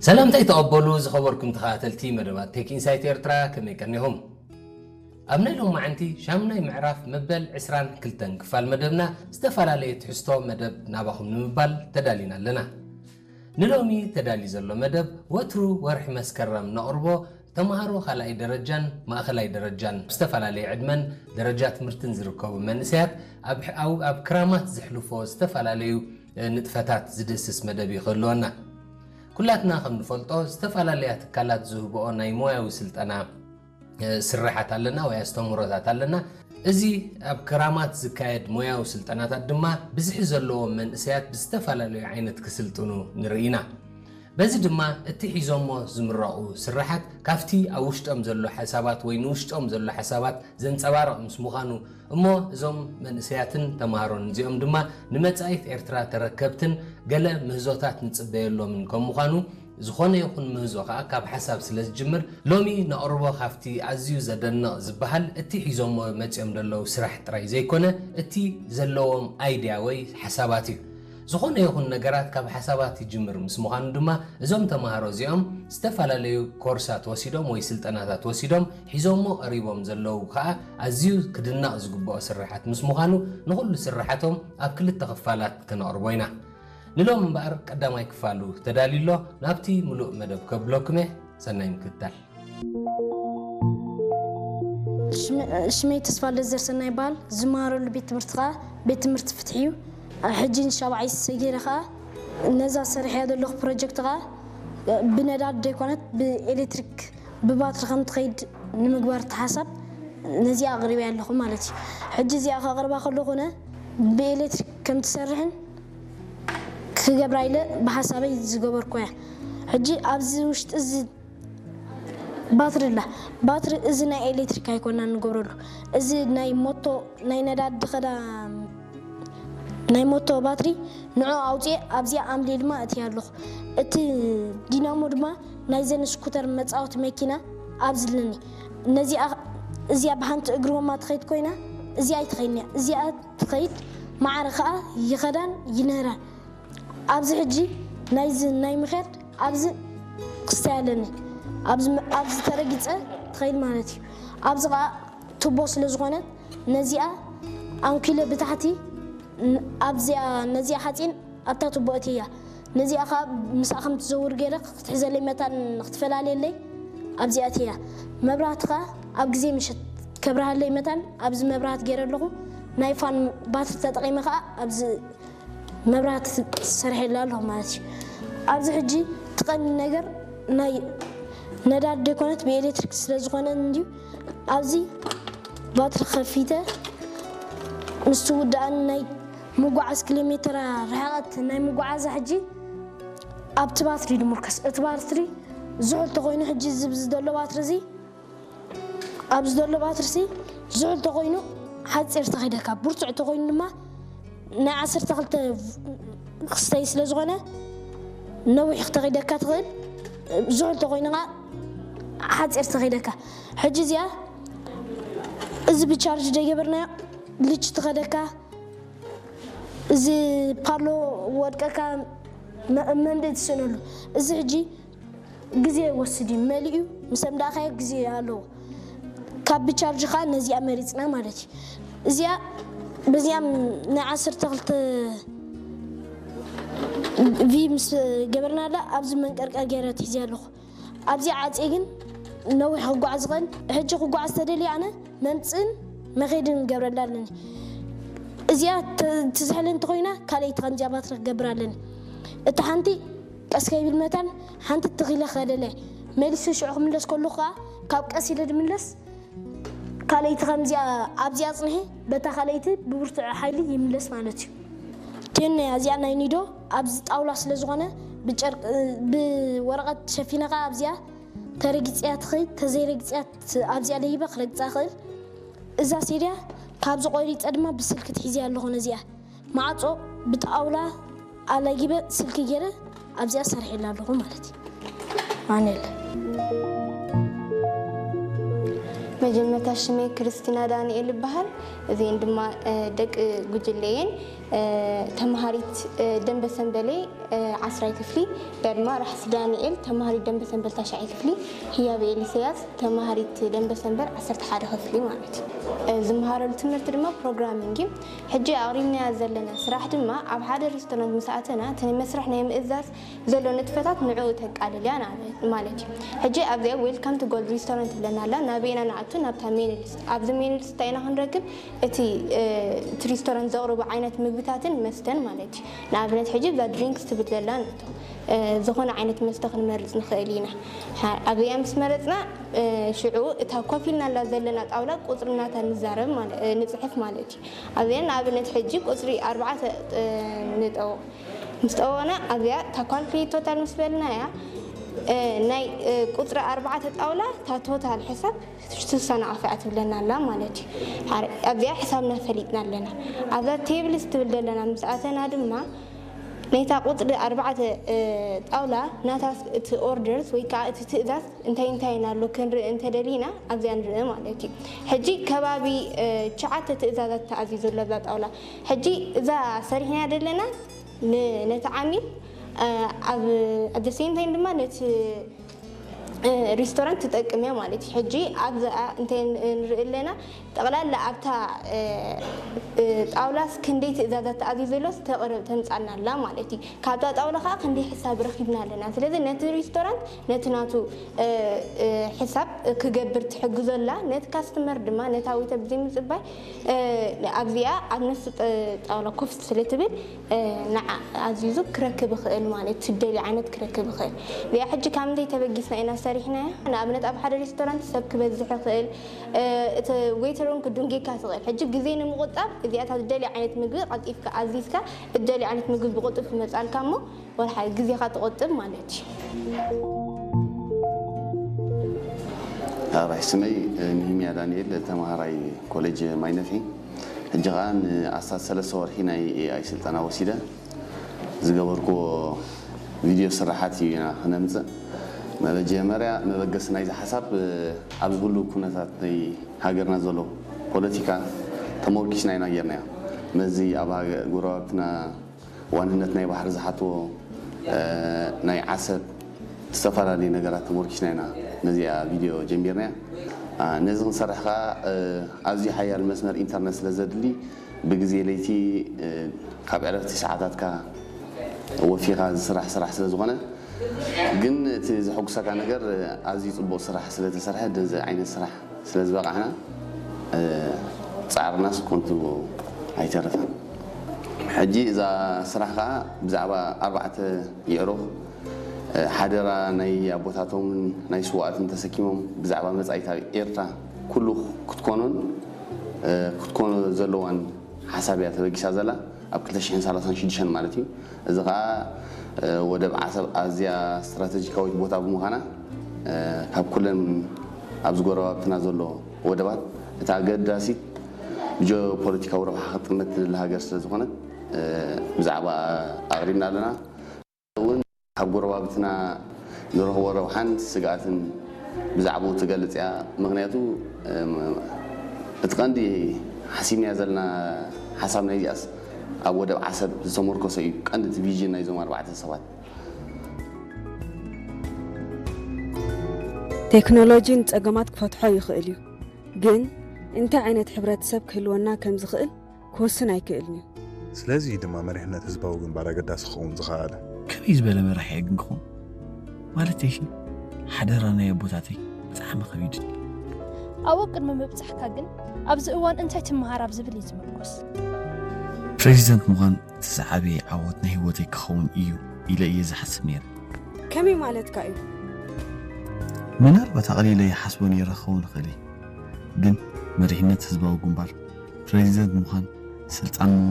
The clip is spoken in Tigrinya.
ሰላምታይ ተቐበሉ ዝኸበርኩም ተኸታተልቲ መደባት ቴክ ኢንሳይት ኤርትራ፣ ከመይ ቀኒኹም? ኣብ ናይ ሎማዓንቲ ሻምናይ ምዕራፍ መበል ዕስራን ክልተን ክፋል መደብና ዝተፈላለየ ትሕዝቶ መደብ ናባኹም ንምባል ተዳሊና ኣለና። ንሎሚ ተዳሊ ዘሎ መደብ ወትሩ ወርሒ መስከረም ነቕርቦ ተምሃሮ ካልኣይ ደረጃን ማእኸላይ ደረጃን ዝተፈላለየ ዕድመን ደረጃ ትምህርትን ዝርከቡ መንእሰያት ኣብ ኣብ ክራማት ዝሕልፎ ዝተፈላለዩ ንጥፈታት ዝድህስስ መደብ እዩ ክህልወና። ኩላትና ከም ንፈልጦ ዝተፈላለያ ትካላት ዝህብኦ ናይ ሞያዊ ስልጠና ስርሓት ኣለና ወይ ኣስተምህሮታት ኣለና። እዚ ኣብ ክራማት ዝካየድ ሞያዊ ስልጠናታት ድማ ብዝሒ ዘለዎም መንእሰያት ብዝተፈላለዩ ዓይነት ክስልጥኑ ንርኢ ኢና። በዚ ድማ እቲ ሒዞሞ ዝምረቑ ስርሓት ካብቲ ኣብ ውሽጦም ዘሎ ሓሳባት ወይ ንውሽጦም ዘሎ ሓሳባት ዘንጸባርቕ ምስ ምዃኑ እሞ እዞም መንእሰያትን ተምሃሮን እዚኦም ድማ ንመጻኢት ኤርትራ ተረከብትን ገለ ምህዞታት ንጽበየሎምን ከም ምዃኑ ዝኾነ ይኹን ምህዞ ከኣ ካብ ሓሳብ ስለ ዝጅምር ሎሚ ነቕርቦ ካብቲ ኣዝዩ ዘደንቕ ዝበሃል እቲ ሒዞሞ መጺኦም ዘለዉ ስራሕ ጥራይ ዘይኮነ እቲ ዘለዎም ኣይድያ ወይ ሓሳባት እዩ። ዝኾነ ይኹን ነገራት ካብ ሓሳባት ይጅምር ምስ ምዃኑ ድማ እዞም ተምሃሮ እዚኦም ዝተፈላለዩ ኮርሳት ወሲዶም ወይ ስልጠናታት ወሲዶም ሒዞሞ ቀሪቦም ዘለዉ ከኣ ኣዝዩ ክድነቕ ዝግብኦ ስርሓት ምስ ምዃኑ ንኹሉ ስርሓቶም ኣብ ክልተ ክፋላት ከነቕርቦ ኢና። ንሎም እምበኣር ቀዳማይ ክፋሉ ተዳልዩ ኣሎ። ናብቲ ምሉእ መደብ ከብለኩም እየ። ሰናይ ምክትታል። ሽመይ ተስፋ ለዘር ሰናይ ይበሃል። ዝመሃረሉ ቤት ትምህርቲ ከዓ ቤት ትምህርቲ ፍትሒ እዩ። ሕጂ ንሻብዓይ ሰጊረ ከዓ ነዛ ሰሪሐያ ዘለኹ ፕሮጀክት ከዓ ብነዳድ ዘይኮነት ብኤሌክትሪክ ብባትሪ ከም ትኸይድ ንምግባር ተሓሳብ ነዚኣ ኣቕሪበያ ኣለኹ ማለት እዩ። ሕጂ እዚኣ ከቕርባ ከለኹነ ብኤሌክትሪክ ከም ትሰርሕን ክገብራ ኢለ ብሓሳበይ ዝገበርኩ እያ። ሕጂ ኣብዚ ውሽጢ እዚ ባትሪ ኣላ። ባትሪ እዚ ናይ ኤሌክትሪክ ኣይኮናን ንገብረሉ። እዚ ናይ ሞቶ ናይ ነዳዲ ኸዳ ናይ ሞቶ ባትሪ ንዑ ኣውፅኤ ኣብዚኣ ኣምሊ ድማ እትያ ኣለኹ። እቲ ዲናሞ ድማ ናይዘን ስኩተር መፃወቲ መኪና ኣብዚ ኣለኒ። ነዚኣ እዚኣ ብሓንቲ እግሪ ወማ ትኸይድ ኮይና እዚኣ ኣይትኸይድን እያ። እዚኣ ትኸይድ ማዕረ ከዓ ይኸዳን ይንህራን። ኣብዚ ሕጂ ናይዚ ናይ ምኽያድ ኣብዚ ክስታይ ኣለኒ። ኣብዚ ተረጊፀ ትኸይድ ማለት እዩ። ኣብዚ ከዓ ቱቦ ስለ ዝኾነት ነዚኣ ኣንኪለ ብታሕቲ ኣብዚኣ ነዚኣ ሓፂን ኣብታ ቱቦ እትያ ነዚኣ ከዓ ምስኣ ከም ትዘውር ገይረ ክትሕዘለይ መታን ክትፈላልየለይ ኣብዚኣ እትያ። መብራህቲ ከዓ ኣብ ግዜ ምሸት ከብርሃለይ መታን ኣብዚ መብራህቲ ገይረ ኣለኹ። ናይ ፋን ባትሪ ተጠቒመ ከዓ ኣብዚ መብራህቲ ሰሪሐላ ኣለኹ ማለት እዩ። ኣብዚ ሕጂ እቲ ቀንዲ ነገር ናይ ነዳዲ ዘይኮነት ብኤሌክትሪክ ስለ ዝኾነ እንድዩ ኣብዚ ባትሪ ከፊተ ምስ ትውድኣኒ ናይ ምጓዓዝ ኪሎ ሜትራ ርሕቐት ናይ ምጓዓዛ ሕጂ ኣብቲ ባትሪ ድምርከስ። እቲ ባትሪ ዝሑል ተኾይኑ ሕጂ እዚ ብዚ ዘሎ ባትሪ እዚ ኣብዚ ዘሎ ባትርሲ ዝሑል ተኾይኑ ሓፂር ተኺደካ፣ ብርቱዕ ተኾይኑ ድማ ናይ ዓሰርተ ክልተ ክስተይ ስለ ዝኾነ ነዊሕ ክተኺደካ ትኽእል። ዝሑል ተኾይኑ ከዓ ሓፂር ተኺደካ። ሕጂ እዚኣ እዚ ብቻርጅ ደይገበርናዮ ልች ትኸደካ፣ እዚ ፓሎ ወድቀካ መ- መንደይ ትስእነሉ። እዚ ሕጂ ግዜ ይወስድ እዩ። መሊኡ ምስ ኣምዳእካዮ ግዜ ኣለዎ። ካብ ብቻርጅ ከዓ ነዚኣ መሪፅና ማለት እዩ። እዚኣ በዚኣ ናይ ዓሰርተ ክልተ ቪ ምስ ገበርናላ ኣብዚ መንቀርቀር ገይረ ትሒዘ ኣለኹ። ኣብዚኣ ዓፅየ ግን ነዊሕ ክጓዓዝ ይኽእል። ሕጂ ክጓዓዝ ተደልየ ኣነ መምፅእን መኸይድን ገብረላ ኣለኒ። እዚኣ ትዝሕለ እንተኾይና ካልኣይቲ ከምዚኣ ባትሪ ክገብር ኣለኒ። እታ ሓንቲ ቀስ ከይብል መታን ሓንቲ ትኺለ ከደለ መሊሱ ሽዑ ክምለስ ከሉ ከዓ ካብ ቀስ ኢለ ድምለስ ካልኣይቲ ከምዚኣ ኣብዚኣ ፅንሒ በታ ካልኣይቲ ብብርቱዕ ሓይሊ ይምለስ ማለት እዩ። ቴን እዚኣ ናይ ኒዶ ኣብዚ ጣውላ ስለ ዝኾነ ብጨርቂ ብወረቐት ሸፊነ ከዓ ኣብዚኣ ተረጊፅያ ትኽእል ተዘይረጊፅያ ኣብዚኣ ለይበ ክረግፃ ክእል። እዛ ሴድያ ካብዚ ቆሪፀ ድማ ብስልኪ ትሒዝያ ኣለኹ። ነዚኣ ማዕፆ ብጣውላ ኣለጊበ ስልኪ ገይረ ኣብዚኣ ሰሪሐላ ኣለኹ ማለት እዩ። ማንየለ መጀመርታ ሽመይ ክርስቲና ዳንኤል ይበሃል። እዚአን ድማ ደቂ ጉጅለየን ተምሃሪት ደንበ ሰንበሌ ዓስራይ ክፍሊ፣ እዚኣ ድማ ራሕሲ ዳንኤል፣ ተማሃሪት ደንበ ሰንበል ታሽዓይ ክፍሊ፣ ህያብ ኤልሰያስ፣ ተማሃሪት ደንበ ሰንበል ዓሰርተ ሓደ ክፍሊ ማለት እዩ። ዝመሃረሉ ትምህርቲ ድማ ፕሮግራሚንግ እዩ። ሕጂ ኣቕሪብናያ ዘለና ስራሕ ድማ ኣብ ሓደ ሬስቶራንት ምስ ኣተና እቲ ናይ መስርሕ ናይ ምእዛዝ ዘሎ ንጥፈታት ንዕኡ ተቃልል እያ ማለት እዩ። ሕጂ ኣብዚኣ ዌልካም ቱ ጎልድ ሬስቶራንት ትብለና ኣላ። ናበይና ንኣቱ? ናብታ ሜኑ ሊስት። ኣብዚ ሜኑ ሊስት እንታይ ኢና ክንረክብ? እቲ እቲ ሬስቶራንት ዘቕርቦ ዓይነት ምግብታትን መስተን ማለት እዩ። ንኣብነት ሕጂ እዛ ድሪንክስ ትብል ዘላ ንእቶ ዝኾነ ዓይነት መስተ ክንመርፅ ንኽእል ኢና። ኣብዚኣ ምስ መረፅና ሽዑ እታ ኮፍ ኢልናላ ዘለና ጣውላ ቁፅሪ ናታ ንዛረብ ንፅሕፍ ማለት እዩ። ኣብዚኣ ንኣብነት ሕጂ ቁፅሪ ኣርባዕተ ንጠውቕ። ምስ ጠወቕና ኣብዚኣ እታ ካልኩሌት ቶታል ምስ በልና እያ ናይ ቁፅሪ ኣርባዕተ ጣውላ እታ ቶታል ሕሳብ ስሳ ናቕፍዓ ትብለና ኣላ ማለት እዩ። ኣብዚኣ ሕሳብና ፈሊጥና ኣለና። ኣብዛ ቴብልስ ትብል ዘለና ምስ ኣተና ድማ ነታ ቁፅሪ ኣርባዕተ ጣውላ ናታ እቲ ኦርደርስ ወይ ከዓ እቲ ትእዛዝ እንታይ እንታይ ኣሎ ክንርኢ እንተደሊና ኣብዚኣ ንርኢ ማለት እዩ። ሕጂ ከባቢ ትሽዓተ ትእዛዛት ተኣዚዙ ኣሎ ኣብዛ ጣውላ። ሕጂ እዛ ሰሪሕናያ ዘለና ነቲ ዓሚል ኣብ ሴም ታይም ድማ ነቲ ሪስቶራንት ትጠቅም እያ ማለት እዩ። ሕጂ ኣብዛ እንታይ ንርኢ ኣለና? ጠቕላላ ኣብታ ጣውላስ ክንደይ ትእዛዛት ተኣዚዙ ዘሎስ ተቕርብ ተምጻልና ኣላ ማለት እዩ። ካብዛ ጣውላ ከዓ ክንደይ ሕሳብ ረኪብና ኣለና። ስለዚ ነቲ ሪስቶራንት ነቲ ናቱ ሕሳብ ክገብር ትሕግዞ ኣላ። ነቲ ካስተመር ድማ ነታ ወይተር ብዘይ ምጽባይ ኣብዚኣ ኣብ ነፍሲ ጣውላ ኮፍ ስለ ትብል ንዓ ኣዚዙ ክረክብ ይኽእል ማለት ትደልዮ ዓይነት ክረክብ ይኽእል። እዚኣ ሕጂ ካብ ምንታይ ተበጊስና ኢና ሰሪሕናያ? ንኣብነት ኣብ ሓደ ሬስቶራንት ሰብ ክበዝሕ ይኽእል፣ እቲ ዌይተር እውን ክዱንጌካ ትኽእል። ሕጂ ግዜ ንምቑጣብ እዚኣታ ዝደልዮ ዓይነት ምግቢ ቀልጢፍካ ኣዚዝካ እትደልዮ ዓይነት ምግቢ ብቕልጡፍ ይመጻልካ እሞ ወርሓዊ ግዜኻ ትቑጥብ ማለት እዩ። ኣራይ ስመይ ንህምያ ዳንኤል ተማሃራይ ኮሌጅ ማይነፍሒ ሕጂ ከዓ ንኣስታት ሰለስተ ወርሒ ናይ ኤኣይ ስልጠና ወሲደ ዝገበርኩዎ ቪድዮ ስራሓት እዩ ኢና ክነምፅእ። መበጀመርያ መበገሲ ናይዚ ሓሳብ ኣብዚ ኩሉ ኩነታት ናይ ሃገርና ዘሎ ፖለቲካ ተመርኪስና ኢና ጌርናዮ። መዚ ኣብ ጎረባብትና ዋንነት ናይ ባሕሪ ዝሓትዎ ናይ ዓሰብ ዝተፈላለዩ ነገራት ተመርኪስና ኢና ነዚኣ ቪድዮ ጀሚርናያ። ነዚ ክንሰርሕ ከዓ ኣዝዩ ሓያል መስመር ኢንተርነት ስለ ዘድሊ ብግዜ ለይቲ ካብ ዕረፍቲ ሰዓታትካ ወፊኻ ዝስራሕ ስራሕ ስለ ዝኾነ ግን እቲ ዘሐጉሰካ ነገር ኣዝዩ ፅቡቕ ስራሕ ስለተሰርሐ ነዚ ዓይነት ስራሕ ስለ ዝበቃዕና ፃዕርናስ ኮንቱ ኣይተረፈን። ሕጂ እዛ ስራሕ ከዓ ብዛዕባ ኣርባዕተ የዕሩኽ ሓደራ ናይ ኣቦታቶምን ናይ ስዋኣትን ተሰኪሞም ብዛዕባ መፃኢት ኣብ ኤርትራ ኩሉ ክትኮኖን ክትኮኖ ዘለዋን ሓሳብ እያ ተበጊሳ ዘላ ኣብ ክልተ ሽሕን ሰላሳን ሽዱሽተን ማለት እዩ። እዚ ከዓ ወደብ ዓሰብ ኣዝያ ስትራተጂካዊት ቦታ ብምዃና ካብ ኩለን ኣብዚ ጎረባብትና ዘሎ ወደባት እታ ኣገዳሲት ብጂኦፖለቲካዊ ረብሓ ክትጥመት ትደሊ ሃገር ስለ ዝኾነት ብዛዕባ ኣቕሪብና ኣለና። እውን ካብ ጎረባብትና ንረኽቦ ረብሓን ስግኣትን ብዛዕባኡ ትገልጽ እያ። ምኽንያቱ እቲ ቀንዲ ሓሲብናያ ዘለና ሓሳብ ናይዚኣስ ኣብ ወደብ ዓሰብ ዝተመርኮሰ እዩ። ቀንዲ እቲ ቪዥን ናይዞም ኣርባዕተ ሰባት። ቴክኖሎጂ ንጸገማት ክፈትሖ ይኽእል እዩ፣ ግን እንታይ ዓይነት ሕብረተሰብ ክህልወና ከም ዝኽእል ክውስን ኣይክእልን እዩ። ስለዚ እዩ ድማ መሪሕነት ህዝባዊ ግንባር ኣገዳሲ ክኸውን ዝኸኣለ። ከመይ ዝበለ መራሒ እየ ግን ክኸውን? ማለተይሲ ሓደራ ናይ ኣቦታተይ ብጣዕሚ ከቢድኒ። ኣብኡ ቅድሚ ምብጻሕካ ግን ኣብዚ እዋን እንታይ ትመሃር ኣብ ዝብል እዩ ዝምርኮስ። ፕሬዚደንት ምዃን እቲ ዝዓበየ ዓወት ናይ ህይወተይ ክኸውን እዩ ኢለ እየ ዝሓስብ ነይረ። ከመይ ማለትካ እዩ? ምናልባት ኣቕሊለ ይሓስቦ ነይረ ክኸውን ይኽእል እዩ፣ ግን መሪሕነት ህዝባዊ ግንባር፣ ፕሬዚደንት ምዃን፣ ስልጣን